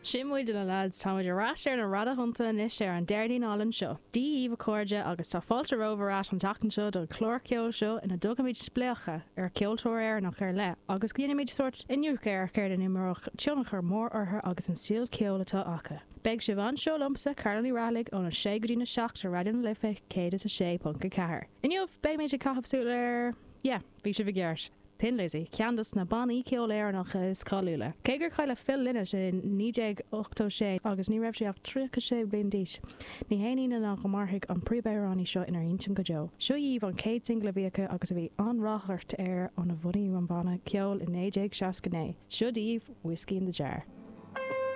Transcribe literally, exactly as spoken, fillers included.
Sin muid a lads táimid ar ais ar na radathonnta anois ar an Déardaoin álainn seo. Dia dhaoibh a chairde agus tá fáilte romhaibh ar ais an tseachtain seo don chlár ceoil seo ina dtugaimid spléachadh ar cheoltóir Éireannach ar leith agus déanaimid sórt iniúchadh ar céard a d'imir tionchar mór orthu agus an stíl ceoil atá acu. Beidh sibh anseo liomsa Carolyn Ní Raghallaigh óna sé go dtí a seacht ar Raidió na Life céad is a sé ponc a ceathair. Inniu beidh mé ag caitheamh súil ar yeah, bhí sibh i gceart. Thin Lizzy, ceann de na bannaí ceoil Éireannacha is cáiliúla. Cé gur cailleadh Phil Lynott in naoi déag ochtó sé agus ní raibh sé ach tríocha sé bliain d'aois. Ní haon ionadh ná go mairfidh an príomhamhránaí seo inár intinn go deo. Seo dhaoibh an chéad single a bhí acu agus a bhí an-ráchairt air óna bhunaíodh an banna ceoil in naoi déag seasca naoi. Seo daoibh Whiskey in the Jar.